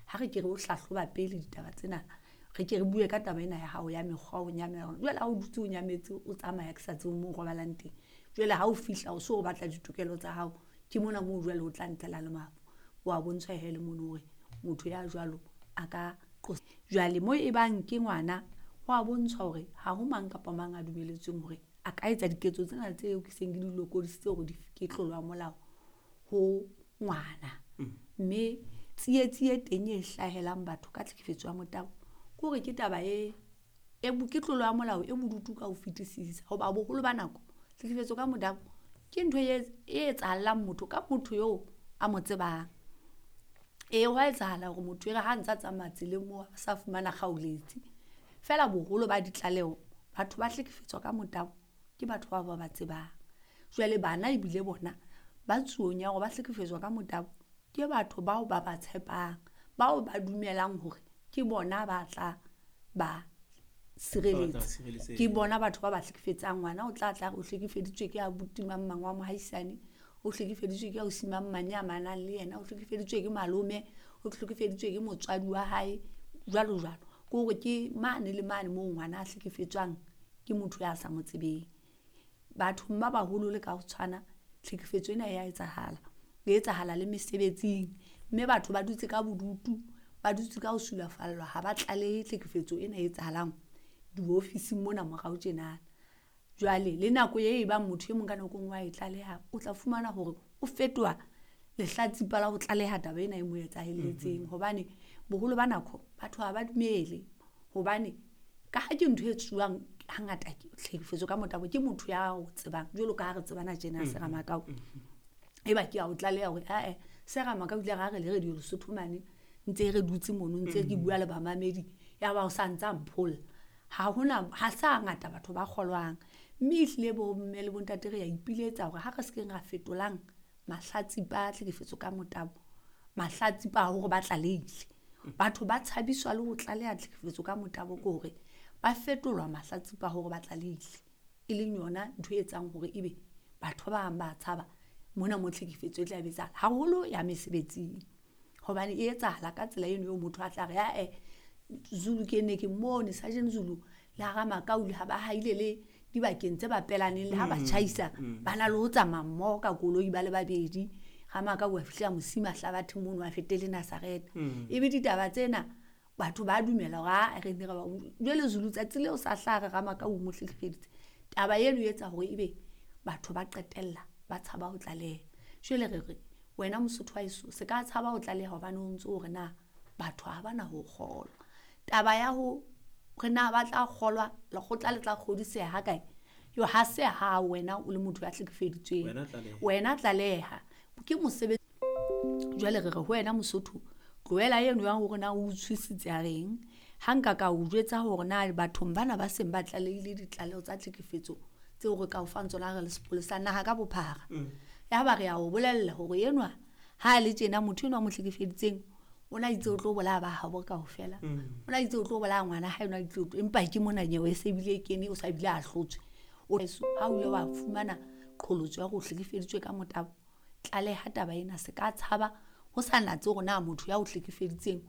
Ha re ke re o hlahloba pele ditaba tsena, re ke re bue ka taba ena ya hao ya mekgwa o nyamela. Jwale ha o dutse o nyametse, o tsamaya ke sa tsebe moo o robalang teng, jwale ha o fihla o so o batla ditokelo tsa hao, ke mona moo jwale o tla ntlela le mafu. Wa bontshwa he le mono hore motho ya jwalo a ka qosa. Jwale mo e bang ke ngwana, ho a bontshwa hore ha ho mang kapa mang a dumeletsweng hore a ka etsa diketso tsena tseo ke seng ke di lokodisitse hore ke tlolo ya molao ho ngwana. Mme tsietsi e teng e hlahelang batho ka tlhekefetso ya motabo ke hore ke taba e ke tlolo ya molao e bodutu ka ho fetisisa. Hoba boholo ba nako tlhekefetso ka motabo ke ntho e etsahallang motho ka motho eo a mo tsebang. Ee, hwa etsahala hore motho e re ha ntsa tsamaya tseleng moo a sa fumana kgaoletsi. Feela boholo ba ditlaleho, batho ba hlekefetswa ka motabo ke batho bao ba ba tsebang. Jwale bana ebile bona ba tsuong ya hore ba hlekefetswa ka motabo ke batho bao ba ba tshepang, bao ba dumelang hore ke bona ba tla ba sireletsa. Ke bona batho ba ba hlekefetsang. Ngwana o tla tla re o hlekefeditswe ke abuti mang mang wa mohaisane, o hlekefeditswe ke ausi mang mang ya manang le yena, o hlekefeditswe ke malome, o hlekefeditswe ke motswadi wa hae, jwalo jwalo. Ke hore ke mane le mane moo ngwana a hlekefetswang ke motho ya sa mo tsebeng. Bathong ba baholo le ka ho tshwana, tlhekefetso ena ya etsahala. E etsahala le mesebetsing, mme batho ba dutse ka bodutu, ba dutse ka ho sulafallwa, ha ba tlalehe tlhekefetso ena e etsahalang diofising mona morao tjenana. Jwale le nako e bang motho e mong ka nako e nngwe wa e tlaleha, o tla fumana hore o fetoha lehlatsipa la ho tlaleha taba ena e mo etsahelletseng. Hobane boholo ba nako batho ha ba dumele, hobane ka ha ke ntho e etsuwang hangata tlhekefetso ka motabo ke motho ya o tsebang, jwalo ka ha re tsebana tjena Sera Makau. Eba ke a o tlaleha hore ae Sera Makau ile ra re le Radio Lesotho mane, ntse re dutse mono, ntse ke bua le bamamedi, ya ba o sa ntsa mpholla. Ha hona, ha sa ngata batho ba kgolwang. Mme ehlile bo mme le bontate re ya ipiletsa hore ha re se keng ra fetolang mahlatsipa a tlhekefetso ka motabo, mahlatsipa a hore ba tlalehile. Batho ba tshabiswa le ho tlaleha tlhekefetso ka motabo ke hore ba fetolwa mahlatsipa a hore ba tlalehile. E leng yona ntho e etsang hore ebe batho ba bang ba tshaba mona mo tlhekefetso e tla be etsahala, haholo ya mesebetsing. Hobane e etsahala ka tsela eno eo motho a tla re ae Zulu ke ne ke mmone Sergeant Zulu le hara Makau ha ba haile le dibakeng tse bapelaneng le ha ba tjhaisa, ba na le ho tsamaya mmoho ka koloi ba le babedi. Ga Makau a fihla Mosima Hlabathe mono a fetele Nazareth. Ebe ditaba tsena batho ba dumela hore a re ne re ba jwale Zulu tsatsi leo sa hlaha re Ramakau mo hlekefeditse. Taba eno e etsa hore ebe batho ba qetella ba tshaba ho tlaleha. Jwale re re wena Mosotho wa heso se ka tshaba ho tlaleha hobane o ntso hore na batho ha bana ho kgolwa. Taba ya ho re na ba tla kgolwa, lekgotla le tla kgodiseha ha kae, yo ha se ha wena o le motho ya hlekefeditsweng. Wena tlaleha. Ke mosebetsi. Jwale re re ho wena Mosotho, tlohela eno ya hore na o utswisitse a reng. Ha nka ka o jwetsa hore na bathong bana ba seng ba tlalehile ditlaleho tsa tlhekefetso tseo re ka o fang tsona re le sepolesa naha ka bophara. Ya ba re ya o bolella hore enwa ha le tjena motho enwa mo hlekefeditseng o na itse o tlo bolaya ba habo kaofela. O na itse o tlo bolaya ngwana hae, o na itse o tlo, empa ke mona nyewe e se bile e kene, o sa bile a hlotswe. O ha o ile wa fumana qholotso ya hore o hlekefeditswe ka motabo, tlaleha taba ena, se ka tshaba ho sa natse hore na motho ya o hlekefeditseng.